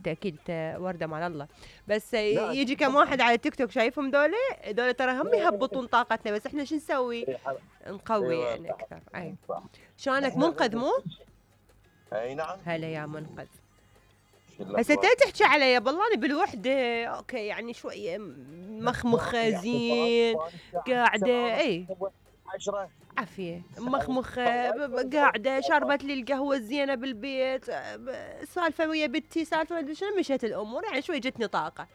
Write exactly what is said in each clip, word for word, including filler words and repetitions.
انت اكيد ورده مال الله، بس يجي كم واحد على تيك توك شايفهم دولة دولة ترى هم يهبطون طاقتنا، بس احنا شو نسوي؟ نقوي يعني اكثر. اي شلونك منقذ مو؟ اي نعم. هلا يا منقذ. هسه تحكي علي بالله انا بالوحده اوكي يعني شويه مخمخه زين قاعده. اي عشرة عافيه مخمخه قاعده شربت لي القهوه الزينه بالبيت، سالفه ويا بنتي سالفه شنو مشت الامور يعني شوي جتني طاقه.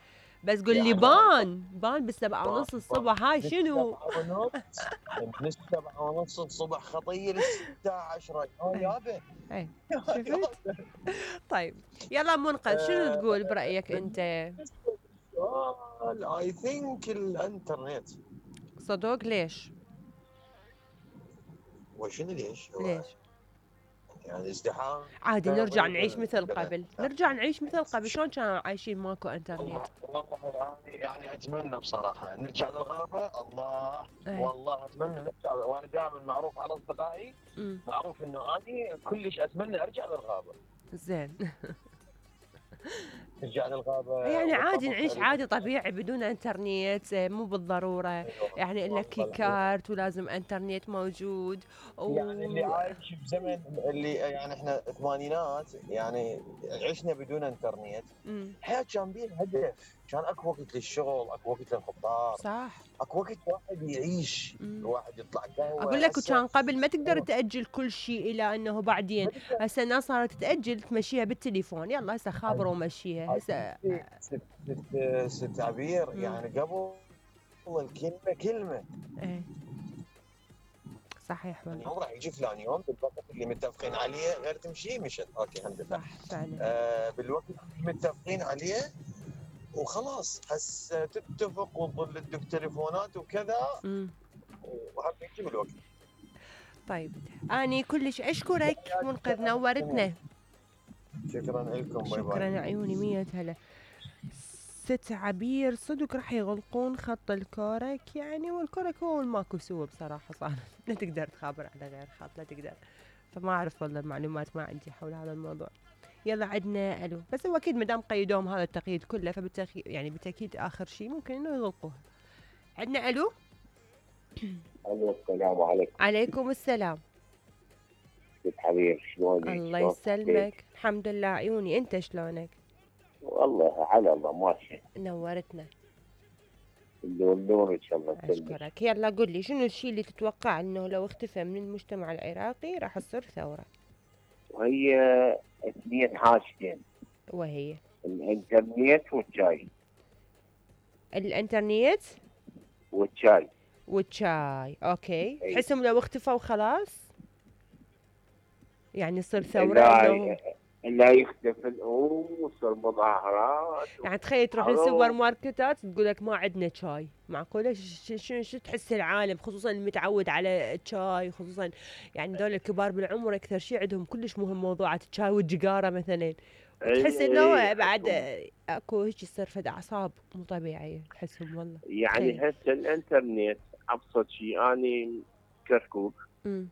بس قول لي بان بان بالسبعة ونص الصبح هاي شنو؟ من السبعة ونص الصبح خطيه للساعة عشرة يابا. اي شفت؟ طيب يلا منقذ شنو تقول برأيك انت؟ اي ثينك الانترنت. صدق ليش؟ وشنو ليش؟ ليش؟ يعني ازدحام عادي نرجع نعيش مثل قبل، نرجع نعيش مثل قبل، شلون كانوا عايشين ماكو انترنت؟ والله يعني اتمنى بصراحه نرجع للغابه. الله أي. والله اتمنى نرجع، وانا دائما معروف على اصدقائي معروف انه اني كلش اتمنى ارجع للغابه. زين. نرجع للغابه يعني عادي نعيش عادي طبيعي بدون انترنت، مو بالضروره. أيوة. يعني الا كيكارت ولازم انترنت موجود و... يعني اللي عايش بزمن اللي يعني احنا الثمانينات يعني عشنا بدون انترنت. الحياه كان بيها هدف، كان اكو وقت للشغل، اكو وقت للخطار، صح، اكو وقت الواحد يعيش، الواحد يطلع قهوه. اقول لك وكان قبل ما تقدر تاجل كل شيء الى انه بعدين، هسه الناس صارت تاجل تمشيها بالتليفون، يلا هسه خابر ومشيها. هسه ست ست عبير يعني قبل الكلمه كلمه. ايه صحيح والله. يعني راح يجي فلان يوم بالوقت اللي متفقين عليه غير تمشي مشت اوكي الحمد لله. صح فعلا. آه بالوقت اللي متفقين عليه وخلاص هسه تتفق وتظل تدق تليفونات وكذا وهم يجي بالوقت. طيب اني كلش اشكرك منقذ نورتنا. شكرا لكم. باي باي. شكرا عيوني مية هلا. ست عبير صدق راح يغلقون خط الكورك يعني، والكورك هو ماكو سوى بصراحة صار. لا تقدر تخابر على غير خط، لا تقدر. فما أعرف والله المعلومات ما عندي حول هذا الموضوع. يلا عندنا ألو، بس هو أكيد مدام قيدوهم هذا التقييد كله فبالتأكيد يعني بالتأكيد آخر شيء ممكن إنه يغلقوها. عندنا ألو. ألو السلام عليكم. عليكم السلام. ست حبيب شلونك؟ الله يسلمك الحمد لله عيوني، أنت شلونك؟ والله على الله ماشي. نورتنا. النور ان شاء الله. اشكرك. يلا قل لي شنو الشيء اللي تتوقع انه لو اختفى من المجتمع العراقي راح تصير ثوره؟ وهي اثنين حاجتين. وهي الانترنت والشاي. الانترنت والشاي. والشاي اوكي. تحسهم لو اختفوا خلاص يعني يصير ثوره؟ لا لا يختفي وصل مظاهرات. يعني تخيل تروح للسوبر ماركتات تقول لك ما عندنا شاي، معقوله؟ شو شو تحس العالم خصوصا المتعود على الشاي، خصوصا يعني دول الكبار بالعمر اكثر شيء عندهم كلش مهم موضوعات الشاي والجقاره مثلا، وتحس انه بعد اكو هيك يصير فد اعصاب مو طبيعيه تحسهم والله. يعني هسه الانترنت ابسط شيء اني كركوك امم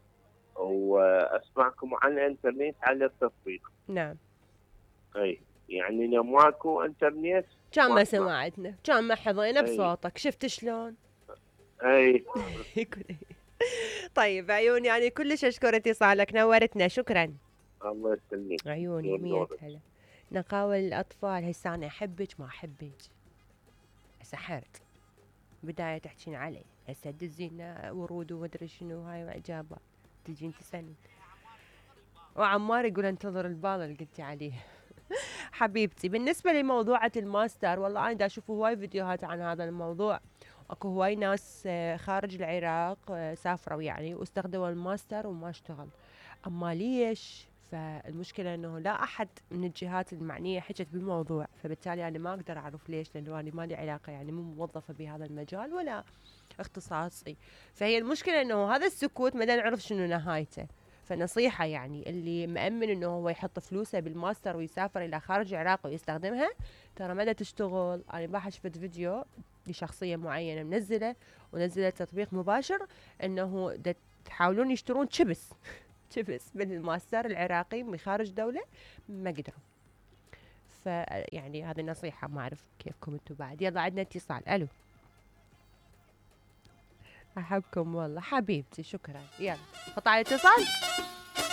واسمعكم عن الانترنت على التطبيق. نعم. اي يعني لو ماكو انترنت كان ما سمعتنا، كان ما حظينا بصوتك. شفت شلون؟ اي. طيب عيوني يعني كلش اشكر اتصالك نورتنا. شكرا. الله يسلمك عيوني مية هلا. نقاول الاطفال هسه انا احبك ما احبك سحرت بدايه تحكين علي هسه تدزينا ورود ومدري شنو هاي واجابه تجين تسالني. وعمار يقول انتظر البال اللي قلتي عليه. حبيبتي بالنسبة لموضوعة الماستر والله أنا دا أشوف هواي فيديوهات عن هذا الموضوع. أكو هواي ناس خارج العراق سافروا يعني واستخدموا الماستر وما اشتغل. أما ليش؟ فالمشكلة أنه لا أحد من الجهات المعنية حكت بالموضوع، فبالتالي أنا ما أقدر أعرف ليش، لأنه أنا ما لي علاقة يعني مو موظفة بهذا المجال ولا اختصاصي. فهي المشكلة أنه هذا السكوت ما نعرف شنو نهايته. فنصيحة يعني اللي مأمن انه هو يحط فلوسه بالماستر ويسافر الى خارج العراق ويستخدمها ترى ما تشتغل. انا امبارح شفت فيديو لشخصية معينة منزلة ونزلت تطبيق مباشر انه تحاولون يشترون شبس شبس بالماستر العراقي من خارج دولة ما قدروا. ف فيعني هذه نصيحة، ما أعرف كيفكم انتم بعد. يلا عندنا اتصال. ألو، أحبكم والله حبيبتي، شكرا. يلا خط على الاتصال.